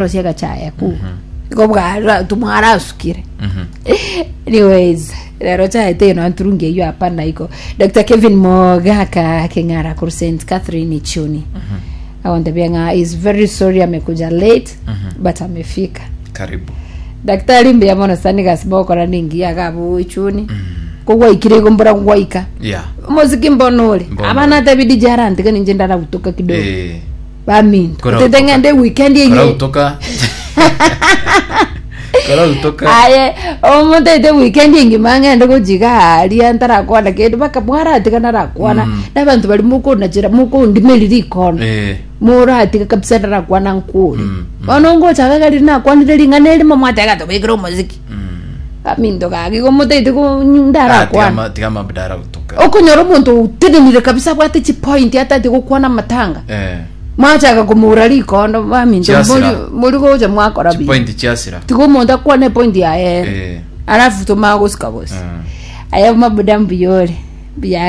Rosia gachaya ku. Igo bwara tumwarasukire. Anyways, rero chaye teno anturungi eyo hapana iko. Dr. Kevin Mogaka Keng'ara kuru St. Catherine Ichuni. Agontebia ng'a is very sorry amekuja late but amefika. Karibu. Daktari mbuya mono sana egasi mogokora ningiya iga abwo Ichuni. Kogwaikire igo mbora gwaika. Yeah. Omosiki mbono ore. Mbono Abana ore. atebi DJ arantiga ninche ndaragutoka kidogo. Eh. Baminto. Kora Otete utoka. ng'ende weekend eye. Kora utoka. Kora utoka. Aye, omonto aite weekend engima ng'ende gochiga aria ntarakwana kende baka mwaratiga narakwana. Mm. Na abanto bari mokonachera mokondimeria rikono. Eh. Moratiga kabisa narakwana nkore. Mm, mm. Bono ngocha iga riria nakwanire ring'ana erimo mwateba tobekere omosiki. Aminto gaki igo motaete ko Ah, ndarakwana. tiga tiga mabdara utoka. Okonyora omonto otenenire kabisa abwate chipoint atati gokwana amatanga. Eh. Mwachaka komoura rikondo baminto Chiasira. mbori mbori gocha mwakora buya. Chipoint chiasira. Tiga omonto akwane epoint yaye ere. Eh. Alafu tomanye gosika gose. Mm. Aya mabuda mbuya ore. Mbuya.